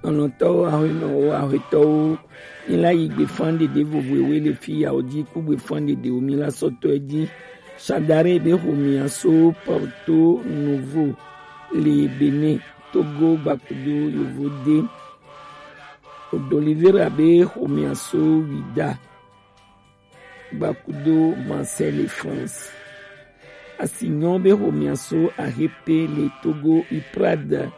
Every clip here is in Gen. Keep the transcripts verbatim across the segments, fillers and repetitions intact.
Lɔlɔ̃tɔwo, ahuenɔwo, ahuetɔwo, mi la yi gbefan ɖeɖe vovo ewe le fi yawo ji ku gbefan ɖeɖewo mi la sɔtɔ e ji. Shadari be xomia so Porto Novo le Benin, Togo gbakudo yovo de. Odolivera be xomia so Wida gbakudo Marseille, France. Asinyɔ be xomia so Ahepe le Togo, Iprad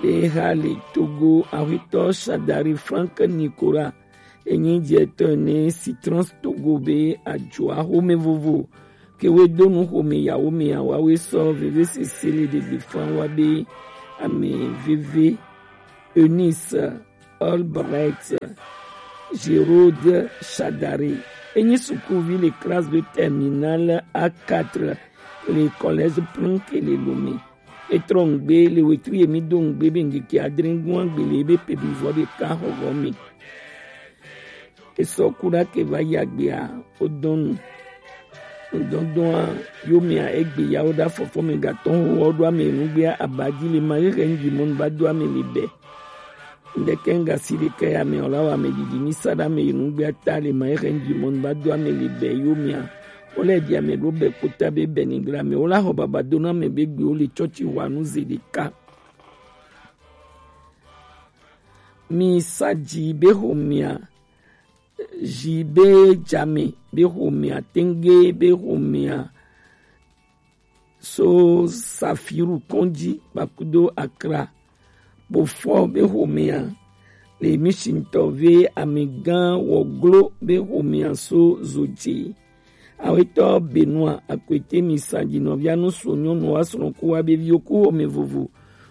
be xa le Togo, ahuetɔ Shadari Frank Nicolas enyi diɛtɔ ne Citrons Togo be ajoa xome vovo kewe donu xome yawo me awawe sɔ veve sese le ɖegbe fan wa be ame veve Eunice Albright Gerode Shadari. Enyi sukuvi le classe de terminale A quatre le collège Planck le Lomé. Etrɔ ŋgbe le wetri emi do ŋgbe be ŋgeke adre ŋgua gbe le ebe pe bi vɔ ɖeka xɔxɔ me. Esɔ kuɖa ke va yi agbea wodɔnu. Ŋdɔndɔa yomea egbe yawo ɖa fɔfɔ me gatɔ ho wɔ ɖo ame nugbea abadzi le ma hehe ŋdzi mɔnu ba do ame le bɛ. Ŋdeke ŋga si ɖeke ya me ɔla wa ame didi mi sa ɖa ame nugbea ta le ma hehe ŋdzi mɔnu ba do ame le bɛ yomea. Wole di ame ɖo bɛ kpota be bɛ ni gra me wola xɔ baba do na ame be gbe wo le tsɔtsi wa nu ze ɖeka. Mi sa dzi be xomea, dzi be dzame be xomea, tenge be xomea, so Safiru kɔndzi kpakudo Akra, Bofɔ be xomea, le Mishintɔ ve amegã Wɔglo be xomea so Zodze. Awetɔ Benoit Akwete mi sa dzi nɔvia nu so nyɔnu wa srɔ̃ ku wa be viwo ku xome vovo.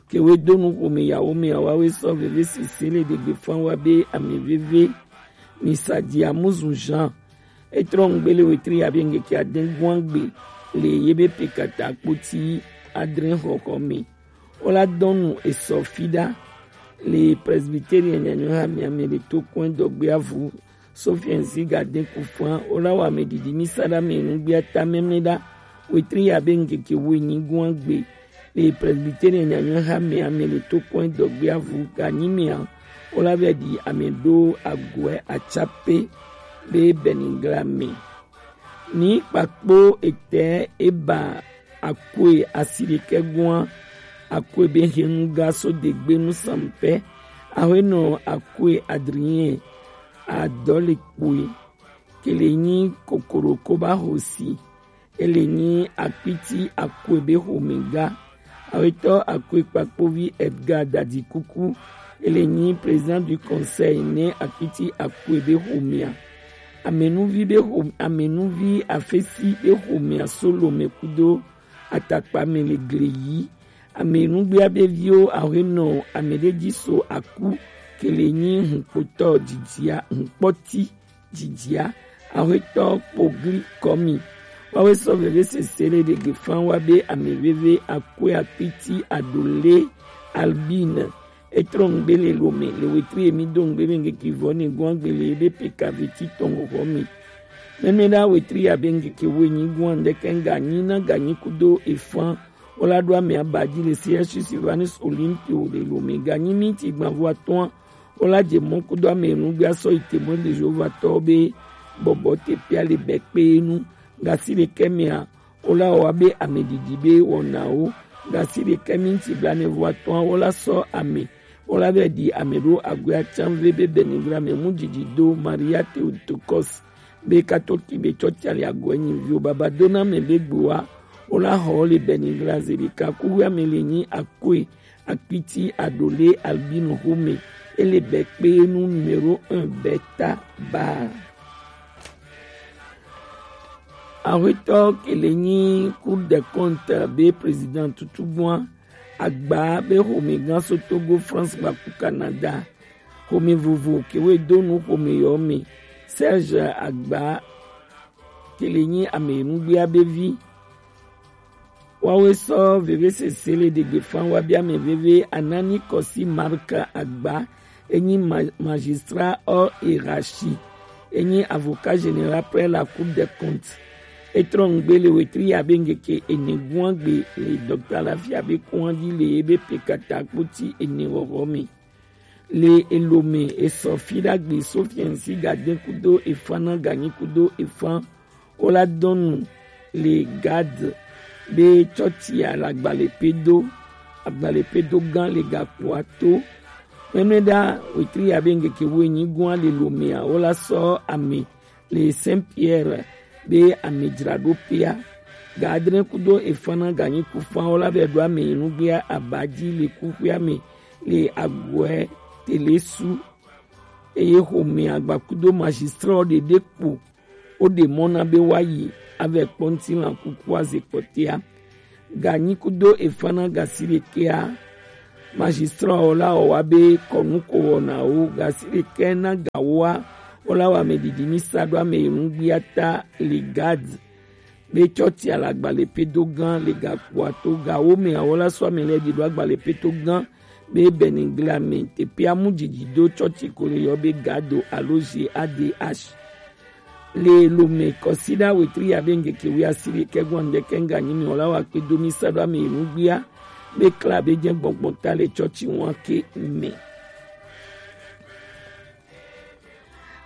Ke we do nu xome yawo me awa we sɔ veve sese le ɖegbe fan wa be ame veve. Mi sa dzi Amuzu Jean. Etrɔ ŋgbe le wetri ya be ŋgeke ade guan gbe le ye be pekata kpoti adre xɔxɔ me. Wola dɔnu esɔ fiɖa le Presbyterian nyanyɔ ha mia me le to kɔn dɔgbe avu Sophie Nzigaden Kufan wola wa me didi mi sa ɖa me nugbea ta mɛmɛ ɖa wetri ya be ŋgeke wo enyi guan gbe le Presbyterian nyanyɔ ha mia me le to kɔn dɔgbe avu ganyi mia wola vɛ ɖi ame ɖo agoɛ atsape be bɛnigla me. Ni kpakpo etɛ eba akoe asi ɖekɛ gua akoe be henu ga so degbe nu sampɛ awenɔ akoe Adrien Adɔlekpoe kele nyi kokoro koba hosi ele nyi akpiti akoe be home ga. Awetɔ akoe kpakpovi Edgar Dadi Kuku ele nyi président du conseil ne akpiti akoe be homea. Amenuvi be hom amenuvi afesi be homea so Lome kudo atakpa me le gle yi. Amenugbea be viwo awenɔ ameɖe ji so aku kele nyi hunkpotɔ dzidzia hunkpɔti dzidzia ahuetɔ kpogli kɔmi. Wawe sɔ veve sese le ɖegbe fan wa be ame veve akoe akpiti adole Albine etrɔ ŋgbe le Lome le wetri emi do ŋgbe be ŋgeke vɔ ne guan gbe le ebe peka veti tɔn hoho mi. Mɛmɛ ɖa wetri ya be ŋgeke wo enyi guan ɖeke ŋga nyi na ganyi kudo efan Wola ɖo ame aba dzi le C S U Sylvanus Olympio le Lome ganyi miniti gbanvo atɔ̃a. Wola dze mɔ kudo ame enugbe asɔ yi Témoin de Jéhovah tɔwo be bɔbɔ te pia le bɛ kpe nu. Gasi ɖekɛ mea, wola wɔ abe ame didi be wɔnawo. Gasi ɖekɛ miniti blaene vo atɔ̃a, wola sɔ ame. Wola vɛ ɖi ame ɖo agoe atsan ve be Benigra me mu didi do Maria Theotokos be katoliki be tsɔtsi ali agoe nyi vio baba do na me be gboa wola xɔ le Benigra ze ɖeka kuwe ame le nyi akoe akpiti adole albino xome ele bɛ kpe nu numéro un beta ba. Ahuetɔ ke le nyi Cour des comptes be président tutugbua agba be xomegã so Togo, France kpaku Canada. Xome vovo ke we do nu xome yɔ me. Serge Agba ke le nyi ame nugbea be vi. Wawe sɔ veve sese le ɖegbe fan wa bi ame veve Anani Kɔsi Marc Agba enyi ma- magistrat hors hiérarchie enyi avocat général près la Cour des comptes. Etrɔ ŋgbe le wetri ya be ŋgeke ene guan gbe le docteur Lafia be kuan di le ebe pekata kpoti ene wɔwɔ me. Le Elome esɔ fi ɖagbe Sofiɛnsi Gadɛn kudo efan na Ganyi kudo efan wo la dɔnu le Gad be cɔcia le agbalẽ pedo agbalẽ pedo gã le gakpoa to. Mɛmɛɖa wetri ya be ŋkeke wo enyi gɔa le Lomea wo la sɔ ame le Saint Pierre be amedzraɖoƒea. Ga adre kudo efan na Ganyi kufan wo la vɛ ɖo ame yi nugbea aba ji le kuxuea me le agɔɛ telesu. Eye xomea gbakudo magistrat ɖeɖe kpo woɖe mɔ na be woayi avɛ kpɔ ŋutilã kukua ze kpɔtea. Ganyi kudo efan na Gasiɖekɛa, magistrat wo la wɔ wa be kɔnu ko wɔna wo Gasiɖekɛ na gawoa wo la wɔ ame ɖiɖi mi sa ɖo ame yi nugbea ta le Gad be cɔcia le agbalẽ pedo gã le gakpoa to. Gawo me awo la sɔ ame lɛ ɖi ɖo agbalẽ pedo gã be Bɛnɛgla me teƒea mu dzidzi do cɔci ko le yɔ be Gado alo G A D H. Le Lome kɔsiɖa wetri ya be ŋkeke wi asi ɖekɛ gɔn ɖekɛ ŋga nyi mi wɔ la wa kpe do mi sa ɖo ame yi nugbea be kla be jɛ gbɔngbɔn ta le cɔci ŋua ke me.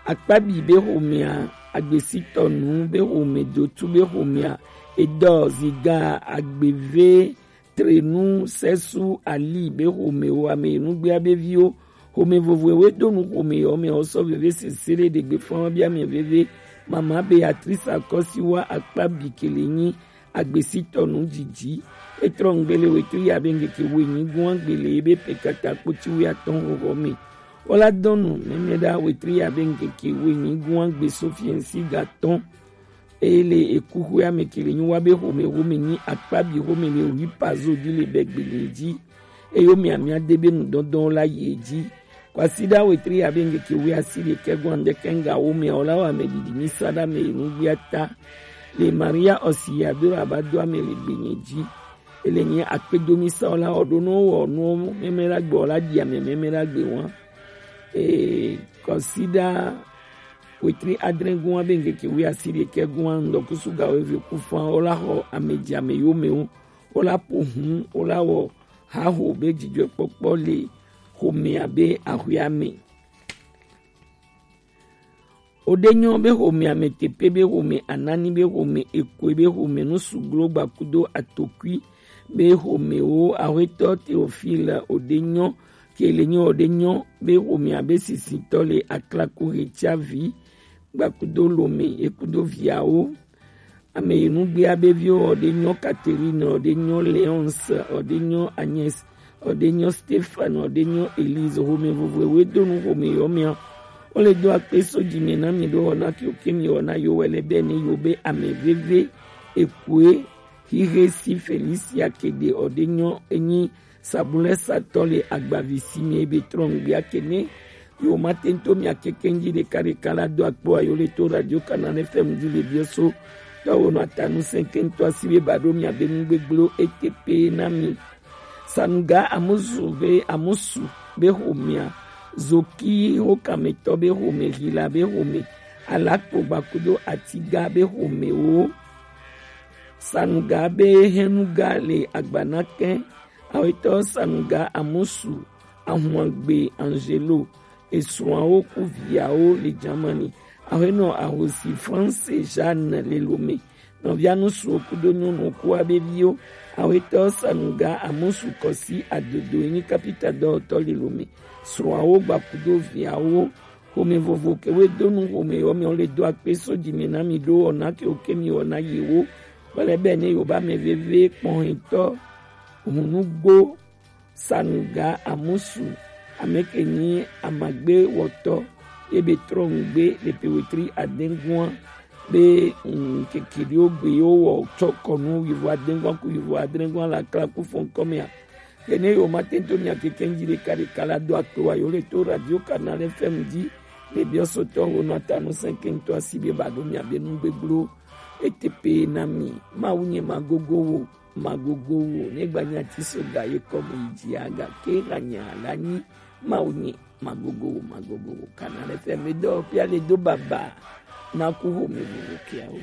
Akpabi be xomea, Agbesitɔnu be xome, Dotu be xomea, Edɔ Ziga, Agbeve Trenu Sɛsu Ali be xomewo, ame yi nugbea be viwo, xome vovoewo do nu xome yɔ me wosɔ veve sese ɖe ɖegbe fɔn bi ame veve. Mama Beatrice Akɔsiwa Akpabi kele nyi Agbesitɔnu dzidzi. Etrɔ ŋgbele wetri ya be ŋkeke wo enyi gɔn gbele be pekata kpoti wo atɔn xoxo me. Wo la dɔnu mɛmɛ ɖa wetri ya be ŋkeke wo enyi gɔn gbe Sofiɛnsi ga tɔn. Eye le ekuxoe ame ke le nyi wa be xome xome nyi Akpabi xome le wi pazo di le bɛ gbele dzi. Eye wo mia mia de be nudɔdɔn la yi edzi. Kwasiɖa wetri ya be ŋkeke wi asi ɖekɛ gɔn ɖekɛ ŋga wo mia wo la wa ame ɖiɖi mi sa ɖa ame yi nugbea ta. Le Maria ɔsi ya do la ba do ame le gbenye dzi. Ele nyi akpedomi sa wo la wɔ ɖo no wɔ no mɛmɛ la gbe wo la di ame mɛmɛ la gbe wa. Ee, kɔsiɖa wetri adre gɔn be ŋkeke wi asi ɖekɛ gɔn ŋdɔkusu ga wo eve ku fan wo la xɔ ame dzi ame yo me wo. Wo la po hun wo la wɔ haho be dzidzɔkpɔkpɔ le xomea be axɔea me. Oɖenyɔ be xomea me tepe be xome anani be xome ekoe be xome nusuglo gbakudo atokui be xomewo axɔetɔ Teofil oɖenyɔ ke le nyi oɖenyɔ be xomea be sisitɔ le aklaku hetsavi gbakudo lome ekudo viawo. Ame yi nugbea be viwo ɔɖe nyɔ Catherine, ɔɖe nyɔ Léonce, ɔɖe nyɔ Agnès, ɔɖe nyɔ Stéphane, ɔɖe nyɔ Élise, xome vovovoe do nu xome yɔ mia. Wo le do akpe so dzi me na mi ɖo wɔna ke ke mi wɔna yo wɛ le be ne yo be ame veve ekue xixe si Felicia ke ɖe ɔɖe nyɔ enyi Sabulɛ satɔ le agbavi si mi ebe trɔ ŋgbia ke ne yo ma te ŋto mia keke ŋdzi ɖeka ɖeka la do akpo ayo le to Radio Canal F M dzi le biɔ so tɔwo nɔ atanu sɛnke ŋtɔ asi be ba ɖo mia be nu gbegblẽwo ete pe na mi. Sanuga Amusu be Amusu be xomea, Zoki Hokametɔ be xome, Hila be xome, Alakpo gbakudo Atiga be xomewo. Sanuga be Henuga le Agbanakɛ, Awetɔ Sanuga Amusu, Ahuagbe Angelo, esrɔ̃awo ku viawo le Germany. Aƒenɔ Ahosi France Jeanne le Lome. Nɔvia nusuwo kudo nyɔnuwo ku abe viwo. Awetɔ Sanuga Amusu Kɔsi Adodo enyi kapita dɔwɔtɔ le Lome. Srɔ̃awo gbakudo viawo. Xome vovo ke we do nu xome yɔ mi le do akpe so dzi me na mi ɖo wɔna ke wo ke mi wɔna yi wo. Wale be ne yo ba me veve kpɔhɛtɔ Hunugbo Sanuga Amusu, ame ke nyi amagbe wɔtɔ ye be trɔ ŋgbe le pe wetri adengua be ŋkeke ɖewo gbe yewo wɔ tsɔ kɔnu yivo adengua ku yivo adrengua la kla ku fɔn kɔmea. Ke ne yo ma te to mia keke ŋdzi ɖeka ɖeka la do akpe wa yo le to Radio Canal F M dzi le biɔ sotɔ wo nɔ atanu sɛnke ŋtɔ asi be ba ɖo mia be nu gbegblẽwo. Ete pe na mi, Mawu nye magogo wo, magogo wo, ne gba nya ti so ga ye kɔ mo yi dzi aga ke ra nya la nyi, Mawu nye magogo wo, magogo wo. Kana le fɛ me dɔ pia le do baba na ku ho me vovo kia wo.